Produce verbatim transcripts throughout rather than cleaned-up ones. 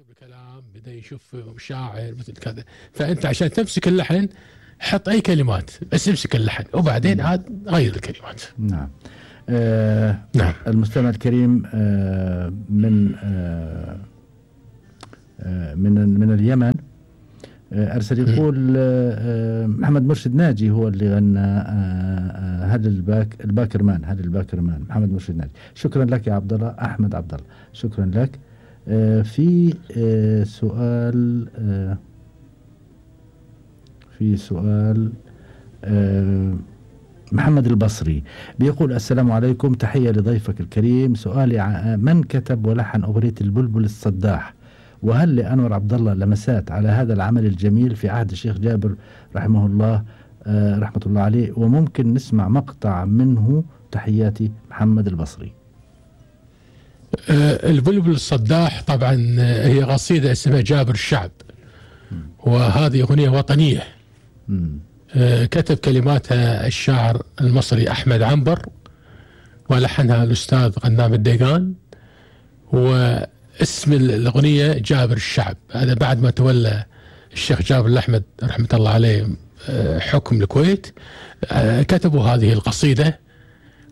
يستقطب الكلام، بدأ يشوف شاعر مثل كذا. فأنت عشان تمسك اللحن حط أي كلمات، بس امسك اللحن وبعدين عاد غير الكلمات. نعم. آه نعم. المستمع الكريم آه من آه آه من من اليمن آه أرسل يقول آه محمد مرشد ناجي هو اللي غنى آه هل الباك الباكرمان هل الباكرمان محمد مرشد ناجي. شكرا لك يا عبد الله. أحمد عبد الله شكرا لك. آه في آه سؤال آه في سؤال آه محمد البصري بيقول السلام عليكم، تحية لضيفك الكريم. سؤالي من كتب ولحن أغنية البلبل الصداح؟ وهل لأنور عبد الله لمسات على هذا العمل الجميل في عهد الشيخ جابر رحمه الله آه رحمة الله عليه؟ وممكن نسمع مقطع منه. تحياتي محمد البصري. آه البلبل الصداح طبعا هي قصيدة اسمها جابر الشعب، وهذه أغنية وطنية. م. كتب كلماتها الشاعر المصري أحمد عنبر، ولحنها الأستاذ غنام الديقان، واسم الأغنية جابر الشعب. هذا بعد ما تولى الشيخ جابر الأحمد رحمة الله عليه حكم الكويت، كتبوا هذه القصيدة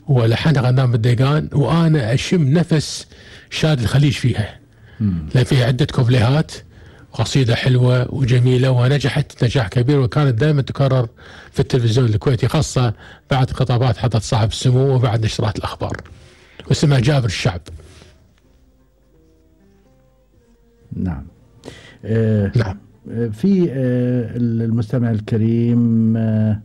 ولحنها غنام الديقان. وأنا أشم نفس شاد الخليج فيها، لأن فيها عدة كوبليهات، قصيدة حلوة وجميلة ونجحت نجاح كبير، وكانت دائما تكرر في التلفزيون الكويتي، خاصة بعد خطابات حضرة صاحب السمو وبعد نشرات الأخبار، واسمها جابر الشعب. نعم. آه نعم. في آه المستمع الكريم آه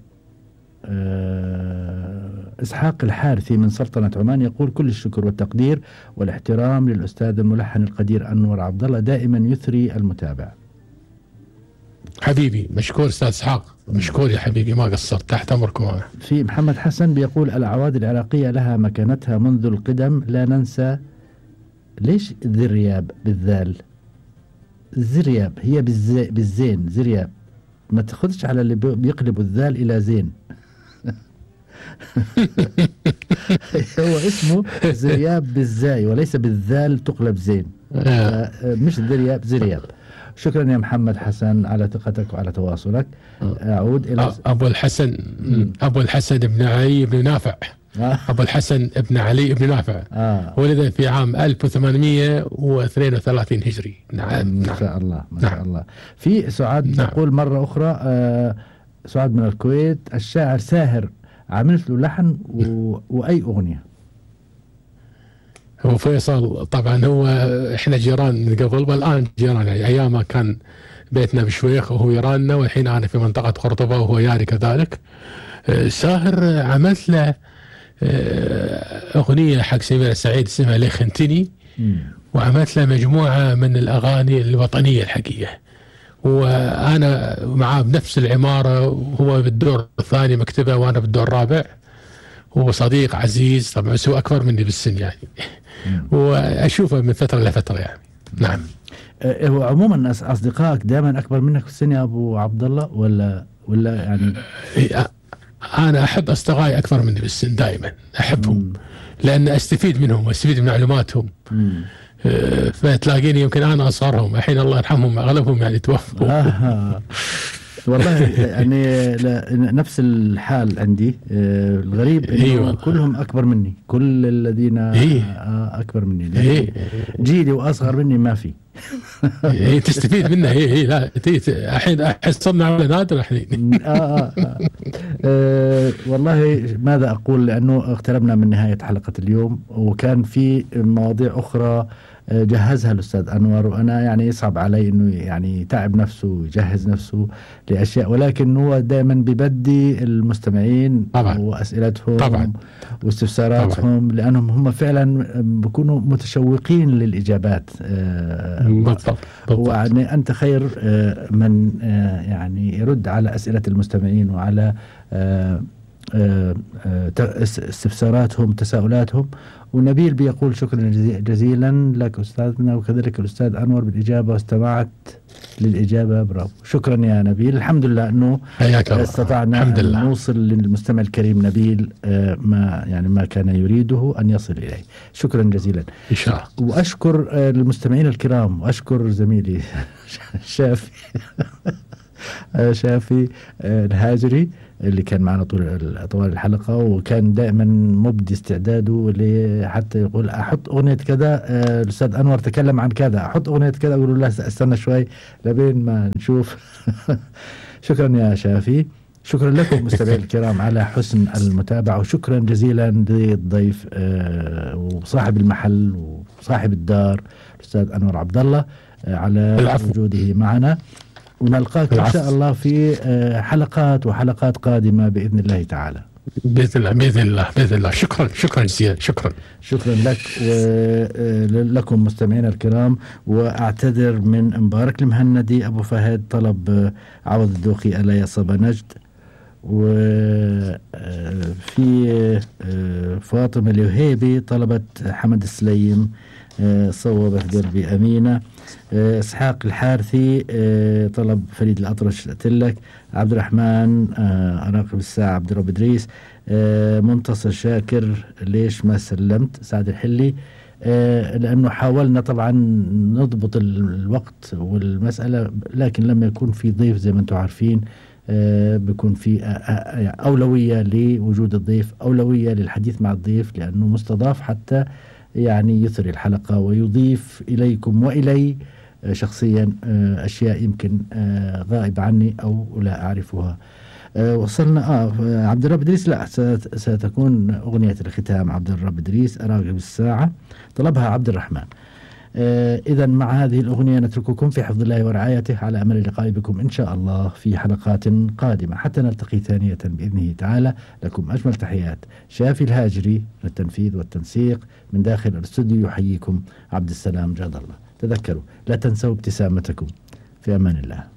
آه إسحاق الحارثي من سلطنة عمان يقول كل الشكر والتقدير والاحترام للأستاذ الملحن القدير أنور عبد الله، دائما يثري المتابع. حبيبي مشكور أستاذ إسحاق، مشكور يا حبيبي، ما قصرت، تحت أمركم. في محمد حسن بيقول الأعواد العراقية لها مكانتها منذ القدم، لا ننسى. ليش ذرياب بالذال؟ زرياب هي بالزي بالزين زرياب، ما تاخذش على اللي بيقلبوا الذال إلى زين. هو اسمه زرياب بالزاي وليس بالذال تقلب زين. آه مش ذرياب زرياب. شكرا يا محمد حسن على ثقتك وعلى تواصلك. أعود إلى أبو الحسن أبو الحسن بن علي بن نافع. آه. أبو الحسن بن علي بن نافع آه. ولد في عام ألف وثمانمئة واثنين وثلاثين هجري. نعم. ما شاء الله ما شاء الله. في سعاد نعم. تقول مرة أخرى آه سعاد من الكويت، الشاعر ساهر عملت له لحن و... وأي أغنية؟ هو فيصل طبعا، هو احنا جيران من قبل والآن جيران، يعني أيام ما كان بيتنا بشويخ وهو يراننا، والحين أنا في منطقة قرطبة وهو ياري كذلك. ساهر عملت له أغنية حق سميرة سعيد اسمها ليه خنتني، وعملت له مجموعة من الأغاني الوطنية الحقيقية، وأنا معاه بنفس العمارة، وهو بالدور الثاني مكتبه وأنا بالدور الرابع. هو صديق عزيز طبعا، هو أكبر مني بالسن يعني، وأشوفه من فترة لفترة يعني. نعم. هو عموما أصدقائك دائما أكبر منك في السن يا أبو عبد الله، ولا ولا يعني؟ أنا أحب أصدقائي أكبر مني بالسن، دائما أحبهم مم. لأن أستفيد منهم وأستفيد من معلوماتهم. أه فتلاقيني يمكن أنا أصغرهم، الحين الله يرحمهم أغلبهم يعني توفوا. آه. والله يعني نفس الحال عندي. آه الغريب إنه أيوة. كلهم أكبر مني، كل الذين إيه. آه أكبر مني. إيه. جيلي وأصغر مني ما في. إيه تستفيد منه. إيه إيه لا الحين أحس صرنا على نادر الحين. آه آه آه. آه والله ماذا أقول، لأنه اقتربنا من نهاية حلقة اليوم، وكان في مواضيع أخرى جهزها الأستاذ أنور، وأنا يعني يصعب علي أنه يعني تعب نفسه ويجهز نفسه لأشياء، ولكن هو دائما ببدي المستمعين طبعا. وأسئلتهم طبعا. واستفساراتهم، طبعا. لأنهم هم فعلا بيكونوا متشوقين للإجابات. بالضبط. ويعني أنت خير من يعني يرد على أسئلة المستمعين وعلى آه، آه، استفساراتهم تساؤلاتهم. ونبيل بيقول شكرا جزيلا لك أستاذنا، وكذلك الأستاذ أنور بالإجابة، واستمعت للإجابة، برافو. شكرا يا نبيل. الحمد لله أنه استطعنا أن نوصل للمستمع الكريم نبيل ما يعني ما كان يريده أن يصل إليه. شكرا جزيلا إن شاء الله. وأشكر المستمعين الكرام، وأشكر زميلي شافي شافي الهاجري اللي كان معنا طول طوال الحلقة، وكان دائما مبدي استعداده حتى يقول أحط أغنية كذا، الأستاذ أنور تكلم عن كذا، أحط أغنية كذا، أقول له استنى شوي لبين ما نشوف. شكرا يا شافي. شكرا لكم مستمعين الكرام على حسن المتابعة، وشكرا جزيلا للضيف وصاحب المحل وصاحب الدار الأستاذ أنور عبد الله على العفو. وجوده معنا، ونلقاك إن شاء الله في حلقات وحلقات قادمة بإذن الله تعالى. بإذن الله بإذن الله بإذن الله. شكرا شكرا جزيلا. شكرا شكرا لك ولكم مستمعينا الكرام. وأعتذر من مبارك المهندي أبو فهد طلب عوض الدوخي ألا يا صبا نجد، وفي فاطمة الوهيبي طلبت حمد السليم صوبت قلبي أمينة. إسحاق الحارثي طلب فريد الأطرش أتلك. عبد الرحمن أراقب الساعة عبد الرب إدريس. منتصر شاكر ليش ما سلمت سعد الحلي، لأنه حاولنا طبعا نضبط الوقت والمسألة، لكن لما يكون في ضيف زي ما أنتم عارفين بيكون في أولوية لوجود الضيف، أولوية للحديث مع الضيف لأنه مستضاف حتى يعني يثري الحلقة ويضيف إليكم وإلي شخصيا أشياء يمكن غائب عني أو لا أعرفها. وصلنا آه عبد الرب إدريس، لا ستكون أغنية الختام عبد الرب إدريس أراقب الساعة طلبها عبد الرحمن. آه إذا مع هذه الأغنية نترككم في حفظ الله ورعايته، على أمل اللقاء بكم إن شاء الله في حلقات قادمة حتى نلتقي ثانية بإذنه تعالى. لكم أجمل تحيات شافي الهاجري للتنفيذ والتنسيق من داخل الاستوديو. يحييكم عبد السلام جاد الله. تذكروا لا تنسوا ابتسامتكم. في أمان الله.